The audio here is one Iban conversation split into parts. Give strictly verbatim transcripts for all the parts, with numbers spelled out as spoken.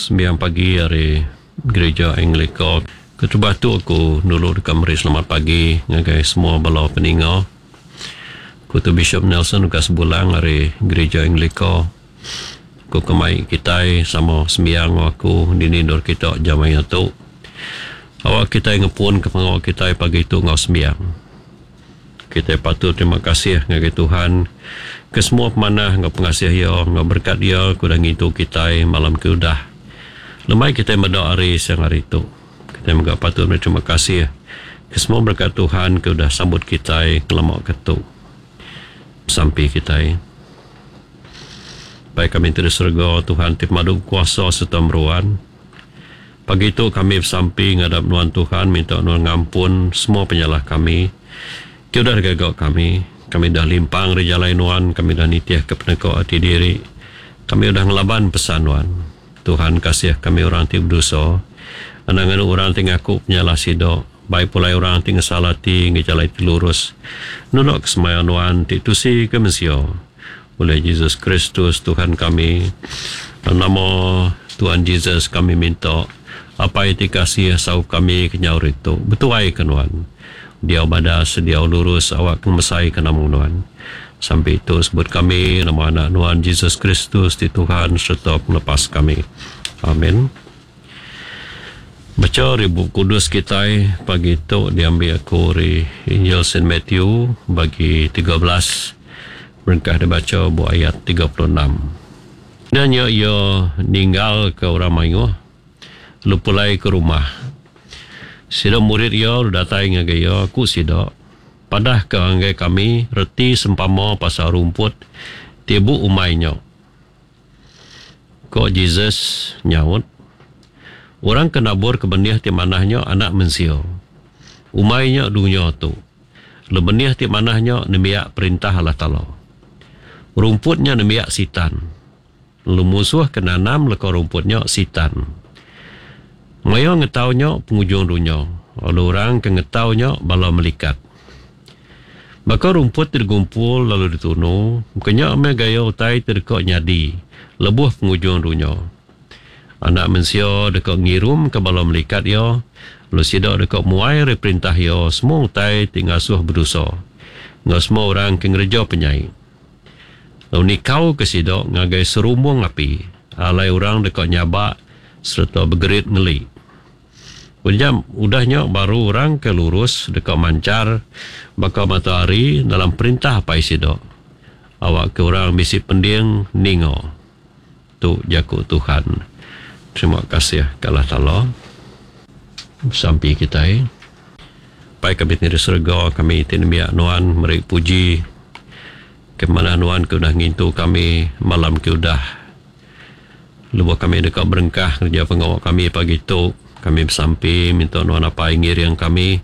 Sembiang Pagi ari Gereja Anglika. Keterubah tu aku dulu deka meri selamat pagi ngagai semua bala peninga. Aku tu Bishop Nelson Lukas Bulang ari Gereja Anglika. Aku kemai kitai sama sembiang enggau aku dini endur kita jam maya tu. Awak kitai ngepun ke pengawa kitai pagi tu enggau sembiang. Kitai patut terima kasih ngagai Tuhan ke semua pemanah enggau pengasih Iya enggau berkat Iya ke udah ngintu kitai malam ke udah. Lemai kitai meda hari siang hari tu. Kitai mega patut meri terima kasih ke semua berkat Tuhan ke udah sambut kitai ngelama ke tu. Besampi kitai. Pai kami ti di serega, Tuhan ti pemadu bekuasa sereta meruan. Pagi tu kami besampi ngadap Nuan Tuhan minta Nuan ngampun semua penyalah kami ti udah digaga kami. Kami udah limpang ari jalai Nuan, kami udah nitihka peneka ati diri. Kami udah ngelaban pesan Nuan. Tuhan kasih kami orang ti bedosa. Anang nganu orang ti ngaku penyalah sida, bai pulai orang ti ngesal ati ngagai jalai ti lurus. Nulak ke semaya Nuan ti tusi ke mensia. Oleh Jesus Kristus Tuhan kami. Dalam nama Tuhan Jesus kami minta, Apai ti kasih saup kami kenyau ari tu. Betuai ke Nuan. Diau badas, diau lurus awak ke ngemesai ke nama Nuan. Sampi tu sebut kami nama anak Nuan Jesus Kristus ti Tuhan sereta pengelepas kami. Amin. Bacha ari Bup Kudus kitai pagi tu diambi aku ari Injil Saint Matthew bagi tiga belas berengkah dibacha ba ayat tiga puluh enam. Udah nya iya ninggalka orang mayuh lalu pulai ke rumah. Sida murid iya lalu datai ngagai iya, ku sida, Padahka ngagai kami reti sempama pasal rumput ti bu umai nya. Ko Jesus nyaut, Orang ke nabur ke benih ti manah nya Anak Mensia. Umai nya dunya tu. Lalu benih ti manah nya nembiak Perintah Allah Taala. Rumput nya nembiak Sitan. Lalu munsuh ke nanam leka rumput nya Sitan. Maya ngetau nya pengujung dunya, lalu orang ke ngetau nya bala melikat. Baka rumput ti digumpul lalu ditunu, baka nya meh gaya utai ti deka nyadi lebuh pengujung dunya. Anak Mensia deka ngirumka bala melikat iya, lalu sida deka muai ari perintah iya semua utai ti ngasuh bedosa, enggau semua orang ke ngereja penyai. Lalu nikauka sida ngagai serumbung api, alai orang deka nyabak sereta begerit ngeli. Udah udah nya baru orang ke lurus deka manchar baka matahari dalam perintah Apai sida. Awakka orang bisi pending ninga. Tu jaku Tuhan. Terima kasih ke Allah Taala. Besampi kitai. Pai kami ti di serega, kami ti nembiak Nuan meri puji ke manah Nuan ke udah ngintu kami malam ke udah. Lebuh kami deka berengkah ngereja pengawa kami pagi tu, kami besampi minta Nuan Apai ngiring kami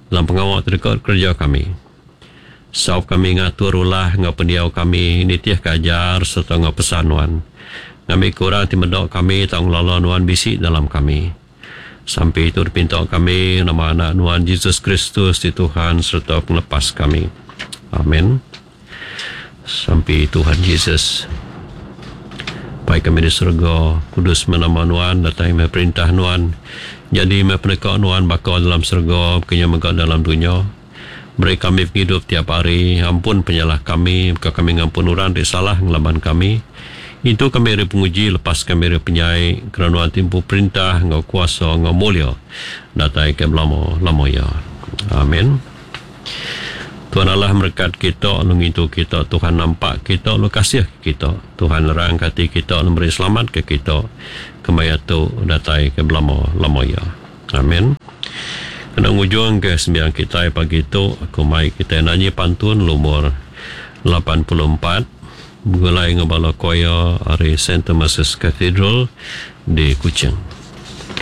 dalam pengawa ti deka dikereja kami. Saup kami ngatur ulah enggau pendiau kami nitihka ajar sereta enggau pesan Nuan, ngambika orang ti meda kami tau ngelala Nuan bisi dalam kami. Sampi tu dipinta kami nama Anak Nuan Jesus Kristus ti Tuhan sereta Pengelepas kami. Amen. Sampi Tuhan Jesus. Pai kami di serega, kudus meh nama Nuan, datai meh perintah Nuan. Nyadi meh peneka Nuan baka dalam serega, baka nya mega dalam dunya. Beri kami pengidup tiap hari, ampun penyalah kami, baka kami ngampun orang ti salah ngelaban kami. Intu kami ari penguji, lepas kami ari penyai, kerana Nuan ti empu perintah enggau kuasa enggau mulia, datai ke belama-lama iya. Amin. Tuhan Allah merekat kita lalu ngintu kita. Tuhan nampak kita lalu kasih ke kita. Tuhan nerangka ati kita lalu meri selamat ke kita. Kemaya tu datai ke belama-lama iya. Amin. Kena ngujung ke sembiang kitai pagi tu, aku mai kitai nanyi pantun lumur lapan puluh empat begulai enggau bala choir ari Saint Thomas's Cathedral di Kuching.